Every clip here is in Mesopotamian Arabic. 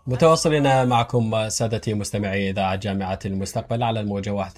متواصلين معكم سادتي مستمعي إذاعة جامعة المستقبل على الموجة 91.7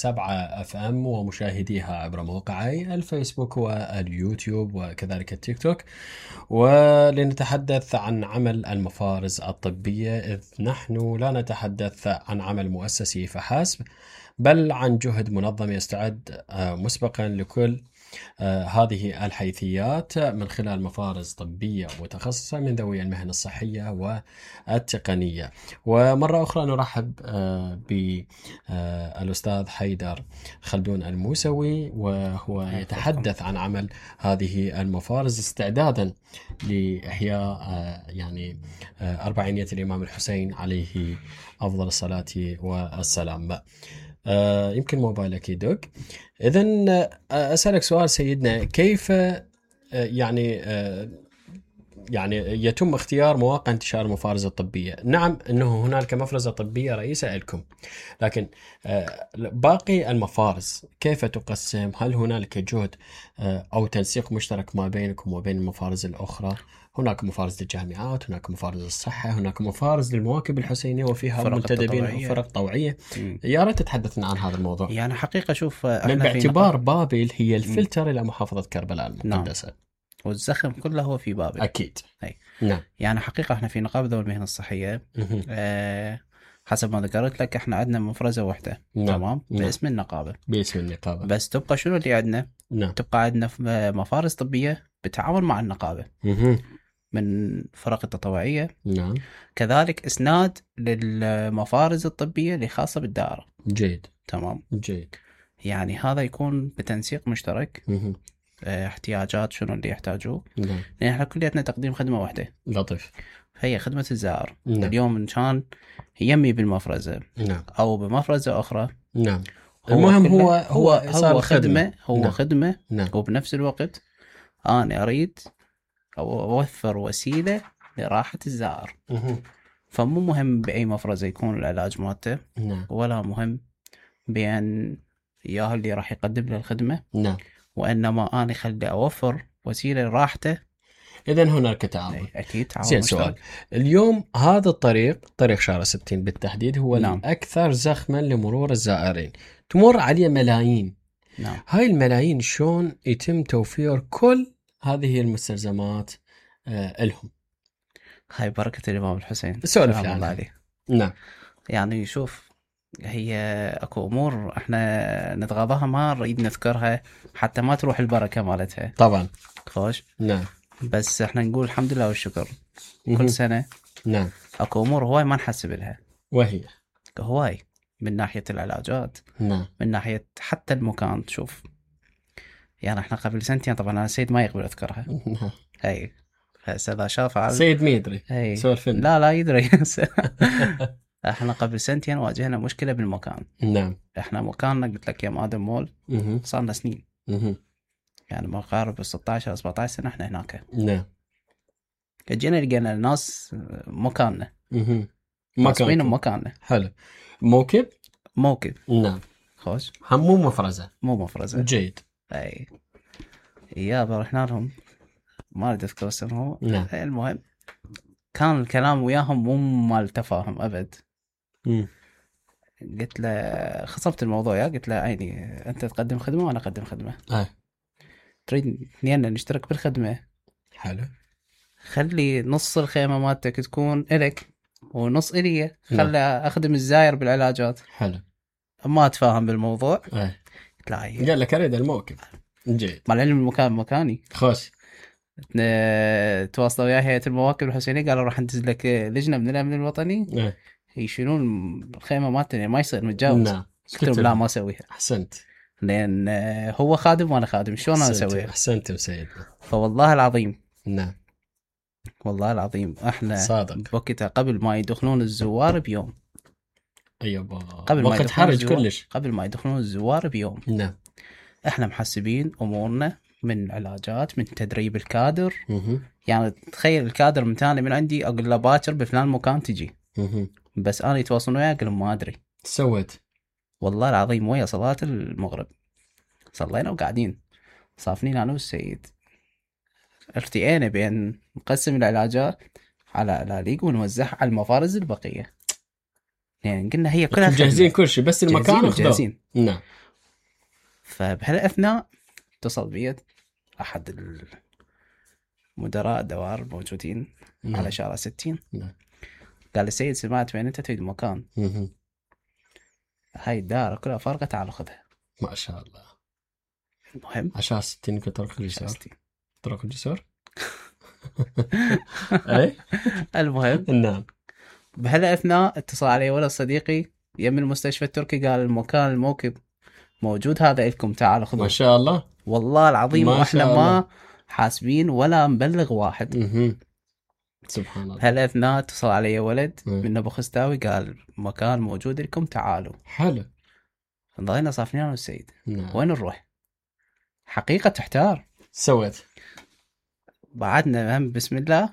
اف ام ومشاهديها عبر موقعي الفيسبوك واليوتيوب وكذلك التيك توك، ولنتحدث عن عمل المفارز الطبية، إذ نحن لا نتحدث عن عمل مؤسسي فحسب، بل عن جهد منظم يستعد مسبقا لكل هذه الحيثيات من خلال مفارز طبية متخصصة من ذوي المهن الصحية والتقنية. ومرة أخرى نرحب بالأستاذ حيدر خلدون الموسوي، وهو يتحدث عن عمل هذه المفارز استعدادا لإحياء أربعينية الإمام الحسين عليه أفضل الصلاة والسلام. يمكن موبايلك يدق. إذن أسألك سؤال سيدنا، كيف يعني يتم اختيار مواقع انتشار المفارز الطبية؟ نعم أنه هنالك مفرزة طبية رئيسة لكم، لكن باقي المفارز كيف تقسم؟ هل هنالك جهد أو تنسيق مشترك ما بينكم وبين المفارز الأخرى؟ هناك مفارز للجامعات، هناك مفارز للصحة، هناك مفارز للمواكب الحسينية وفيها منتدبين وفرق طوعية. يا ريت تتحدثنا عن هذا الموضوع. يعني حقيقة شوف، من باعتبار بابل هي الفلتر إلى محافظة كربلاء المقدسة. نعم. والزخم كله هو في بابل. أكيد. هي. نعم. يعني حقيقة احنا في نقابة ذوي المهن الصحية حسب ما ذكرت لك احنا عندنا مفرزة واحدة. نعم. تمام. نعم. باسم النقابة. باسم النقابة. بس تبقى شنو اللي عندنا؟ نعم. تبقى عندنا مفارز طبية بتعاون مع النقابة من فرق التطوعية. نعم. كذلك إسناد للمفارز الطبية اللي خاصة بالدائرة. جيد. تمام. جيد. يعني هذا يكون بتنسيق مشترك. احتياجات شنو اللي يحتاجوه. نعم. لأن احنا كلياتنا تقديم خدمة واحدة. لطيف. هي خدمة الزائر. نعم. اليوم إن كان يمي بالمفرزة نعم. أو بمفرزة أخرى. نعم. المهم هو خدمة. هو نعم. خدمة. نعم. وبنفس الوقت أنا أريد أو أوفر وسيلة لراحة الزائر. فمو مهم بأي مفرزة يكون العلاج مالته. نعم. ولا مهم بأن إياه اللي راح يقدم له الخدمة. نعم. وإنما أنا خلي أوفر وسيلة لراحته. إذن هناك تعاون. أكيد تعاون. زين، سؤال اليوم، هذا طريق شارع 60 بالتحديد هو نعم. الأكثر زخما لمرور الزائرين، تمر عليه ملايين. نعم. هاي الملايين شون يتم توفير كل هذه المستلزمات لهم؟ هاي بركة الإمام الحسين سولف الله عنها. عليه. نعم. يعني شوف، هي أكو أمور إحنا نتغاضاها ما نريد نذكرها حتى ما تروح البركة مالتها. طبعا. خوش. نعم. بس إحنا نقول الحمد لله والشكر. كل سنة نعم. أكو أمور هواي ما نحسب لها، وهي هواي من ناحية العلاجات. نعم. من ناحية حتى المكان. شوف، يعني إحنا قبل سنتين، طبعا أنا سيد ما يقبل أذكرها. نعم. هاي هذا شاف سيد ما يدري. سولفنا. لا يدري. احنا قبل سنتين واجهنا مشكلة بالمكان. نعم. احنا مكاننا قلت لك يا مادم مول صار لنا سنين. يعني ما قارب 16 أو 17 سنة احنا هناك. نعم. جينا لقينا الناس مكاننا. مكاننا. حلو. موكب. نعم. خوش. هم مو مفرزة. جيد. اي يابا رحنا لهم، ما اريد اذكر اسمهم. نعم. المهم كان الكلام وياهم مو مال تفاهم ابد. قلت له، خصبت الموضوع، قلت له عيني انت تقدم خدمه وانا اقدم خدمه. تريد اثنين نشترك بالخدمه. حلو. خلي نص الخيمه مالتك تكون الك ونص الي. خلي اخدم الزاير بالعلاجات. حلو. ما اتفاهم بالموضوع. قلت له قال لك اريد الموكب. جيد. مع العلم المكان مكاني. خوش. تواصلوا ويا هيئة المواكب الحسينية، قالوا راح ندز لك لجنة من الأمن الوطني يشيلون الخيمة مالتنا، ما يصير متجاوز. قلت لهم لا ما أسويها. أحسنت. لأن هو خادم وأنا خادم، شلون أنا أسويها؟ أحسنت سيدنا. فوالله العظيم. نعم. والله العظيم احنا صادق. وقتها قبل ما يدخلون الزوار بيوم. أيوة. قبل ما وقت حرج كلش. قبل ما يدخلون الزوار بيوم. نعم. احنا محسبين أمورنا من علاجات، من تدريب الكادر. يعني تخيل الكادر متاني من عندي اقول له باكر بفلان مكان تجي. بس انا يتواصلون وياي اقول ما ادري. سويت والله العظيم ويا صلاة المغرب صلينا وقاعدين صافنين انا والسيد، ارتئينا بين نقسم العلاجات. على الالاليق ونوزعها على المفارز البقيه. يعني قلنا هي كلها مجهزين كل شيء بس المكان اخذوه. نعم. فبهالاثناء اتصل بي احد المدراء الدوار الموجودين على شارع 60. قال لي سيد سمعت وين انت تريد مكان. هاي الدار كلها فارغه تعال خذها. ما شاء الله. المهم عشان 60 طرق الجسور. طرق الجسور. اي المهم نعم. بهالاثناء اتصل علي ولد صديقي يم المستشفى التركي قال الموكب موجود هذا لكم تعالوا خذوه. ما شاء الله والله العظيم واحنا ما حاسبين ولا مبلغ واحد. سبحان الله. بهالاثناء اتصل علي ولد من ابو خستاوي قال مكان موجود لكم تعالوا. حلو. ضلينا صافنين انا والسيد. وين نروح؟ حقيقة تحتار. سويت بعدنا هم بسم الله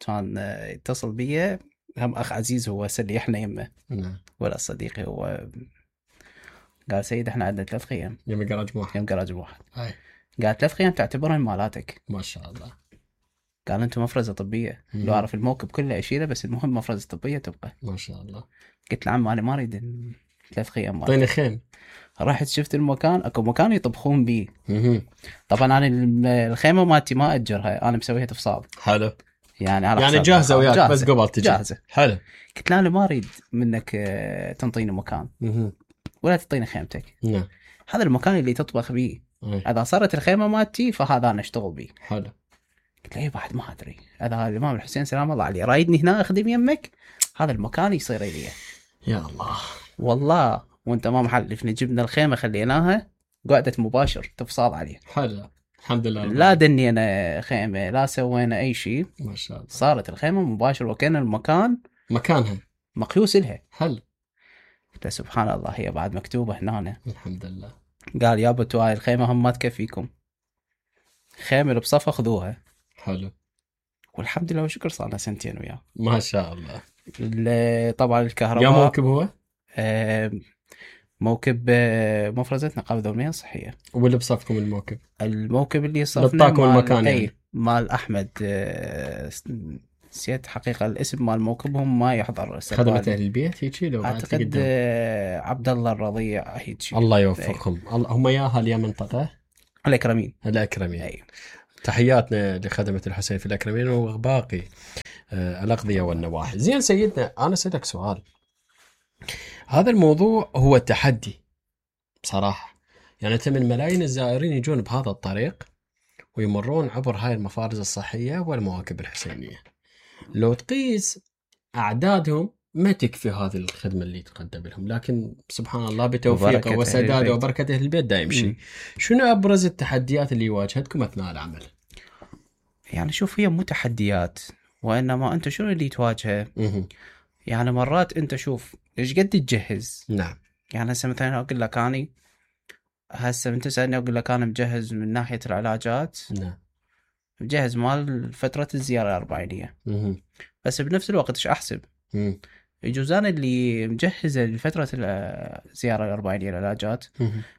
كان يتصل بي هم اخ عزيز هو سليحنا يمه. ولا صديقي هو قال سيد احنا عندنا 3 خيام. يم جراج واحد. قال 3 خيام تعتبرهم مالاتك. ما شاء الله. قال انتم مفرزة طبية. لو اعرف الموكب كله اشيله بس المهم مفرزة طبية تبقى. ما شاء الله. قلت له عم انا ما اريد 3 خيام. اعطيني خيم. رحت شفت المكان اكو مكان يطبخون بيه. طبعا انا الخيمه مالتي ما اجرها انا مسويها تفصال. حلو. يعني على يعني جاهزه وياك بس قبل تجي. جاهزه. حلو. قلت له انا ما اريد منك تنطيني مكان ولا تعطيني خيمتك. نعم. هذا المكان اللي تطبخ بيه. اذا صارت الخيمه مالتي فهذا انا اشتغل بيه. حلو. قلت له بعد ما ادري اذا الامام الحسين سلام الله عليه رايدني هنا اخدم يمك هذا المكان يصير لي. يا الله. والله وانت ما محلفني جبنا الخيمه خليناها قعدت مباشر تفصال عليه. حلو. الحمد لله. لا دنينا خيمه لا سوينا اي شيء. ما شاء الله. صارت الخيمه مباشر وكان المكان مكانها مقيوس لها. حلو. قلت سبحان الله هي بعد مكتوبه هنا. الحمد لله. قال يا بتو هاي الخيمه هم ما تكفيكم خيمه اللي بصفه خذوها. حلو. والحمد لله وشكر صار لنا 2 سنين وياه. ما شاء الله. طبعا الكهرباء. يا موكب هو موكب مفرزة نقابة دولية صحية. واللي بصفكم الموكب اللي صفنا نطاكم المكان يعني. مال أحمد نسيت حقيقة الاسم مال موكبهم ما يحضر. خدمة أهل البيت هيك لو أعتقد عبد الله الرضيع هيك. الله يوفقهم. هم يا أهل يا منطقة الأكرمين. تحياتنا لخدمة الحسين في الأكرمين وباقي الأقضية والنواحي. زين سيدنا أنا سألك سؤال. هذا الموضوع هو تحدي بصراحة. يعني من ملايين الزائرين يجون بهذا الطريق ويمرون عبر هاي المفارز الصحية والمواكب الحسينية. لو تقيس أعدادهم ما تكفي هذه الخدمة اللي تقدم لهم، لكن سبحان الله بتوفيقه وسداده وبركة أهل البيت دا يمشي. شنو أبرز التحديات اللي واجهتكم أثناء العمل؟ يعني شوف هي مو تحديات وإنما أنت شنو اللي تواجهه. يعني مرات أنت شوف إيش قد تجهز. نعم. يعني هسه مثلا أقول لك أنا هسه من تسألني أقول لك أنا مجهز من ناحية العلاجات. نعم. مجهز مال فترة الزيارة الأربعينية. بس بنفس الوقت إيش أحسب؟ يجوز أنا اللي مجهزة لفترة الزيارة الأربعينية العلاجات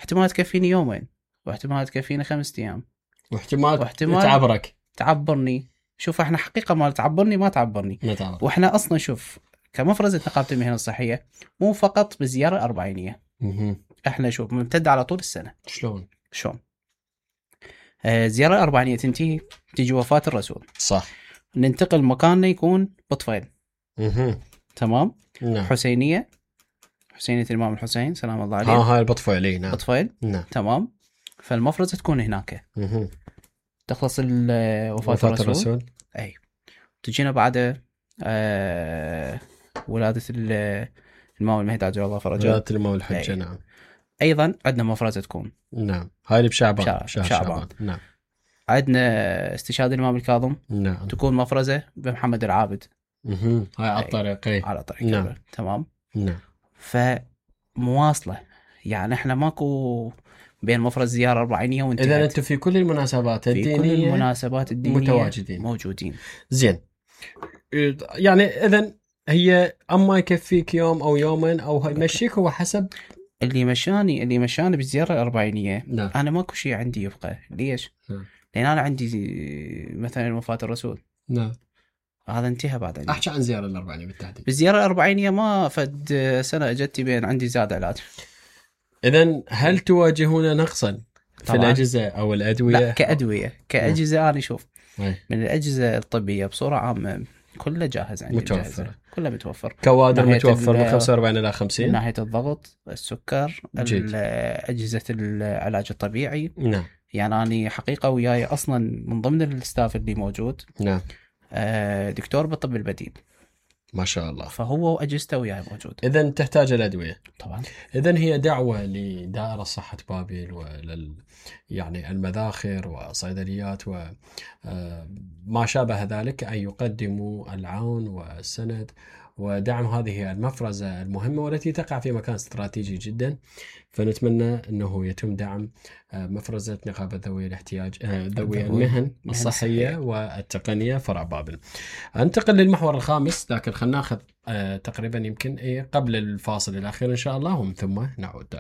احتمال تكفيني 2 يوم واحتمال تكفيني 5 أيام واحتمال تعبرني. شوف احنا حقيقة ما تعبرني ما تعبرني. واحنا أصلا شوف كمفرزة نقابة المهن الصحية مو فقط بالزيارة الأربعينية. احنا شوف ممتد على طول السنة. شلون؟ الزيارة الأربعينية تنتهي تيجي وفاة الرسول. صح. ننتقل مكاننا يكون بطفيل. تمام. نعم. حسينية الإمام الحسين سلام الله عليه. هاي البطفيلي. نعم. بطفيل. نعم. تمام. فالمفرزة تكون هناك. تخلص وفاة الرسول. أي. تجينا بعد ولادة الإمام المهدي عجل الله فرجه. ولادة الإمام الحجة. نعم. أيضا عندنا مفرزة تكون. نعم. هاي اللي بشعبان. شعبان. نعم. عندنا استشهاد الإمام الكاظم. نعم. تكون مفرزة بمحمد العابد. هاي على الطريق. على طريق. نعم. تمام. نعم. فمواصلة يعني احنا ماكو بين مفرز زيارة أربعينية وانتهت. إذا أنتم في كل المناسبات الدينية في كل المناسبات الدينية موجودين. زين. يعني إذن هي أما يكفيك يوم أو يومين أو يمشيك هو حسب اللي مشاني بالزيارة الأربعينية. نعم. أنا ماكو شيء عندي يبقى. ليش؟ نعم. لأن أنا عندي مثلا وفاة الرسول. نعم. هذا انتهى بعد عندي. احكي عن زيارة الأربعينية بالتحديد. بالزيارة الأربعينية ما فد سنة اجتي بين عندي زاد علاج. إذن هل تواجهون نقصا في طبعاً. الأجهزة أو الأدوية؟ لا كأدوية كأجهزة أنا شوف أي. من الأجهزة الطبية بصورة عامة كله جاهز عندي. متوفر. جاهزة. كله متوفر. كوادر ناحية متوفر من 45 إلى من 50. ناحية الضغط، السكر، جيد. أجهزة العلاج الطبيعي. نعم. يعني أنا حقيقة وياي أصلا من ضمن الستاف اللي موجود نعم. دكتور بالطب البديل ما شاء الله. فهو وأجهزته وياي موجود. إذن تحتاج الأدوية. طبعا. إذن هي دعوة لدائرة صحة بابل يعني المذاخر وصيدليات وما شابه ذلك أن يقدموا العون والسند ودعم هذه المفرزة المهمة والتي تقع في مكان استراتيجي جدا. فنتمنى أنه يتم دعم مفرزة نقابة ذوي الاحتياج ذوي المهن الصحية والتقنية فرع بابل. انتقل للمحور الخامس، لكن خلنا ناخذ تقريبا يمكن قبل الفاصل الأخير إن شاء الله ومن ثم نعود.